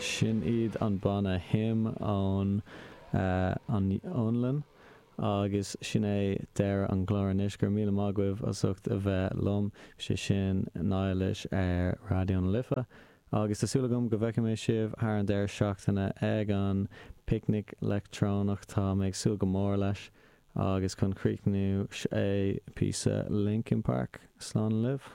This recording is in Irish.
Sin iad an banna HIM ón an Fhionlainn agus sin é deireadh an chláir anois. Go raibh míle maith agaibh as ucht a bheith liom. Sé sin Niallish ar Raidió na Life agus tá súil agam go bhfeicfidh mé sibh thar an deireadh seachtaine ag an bPicnic Leictreonach. Tá mé ag súil go mór leis agus chun críochnú seo é píosa Linkin Park. Slán libh.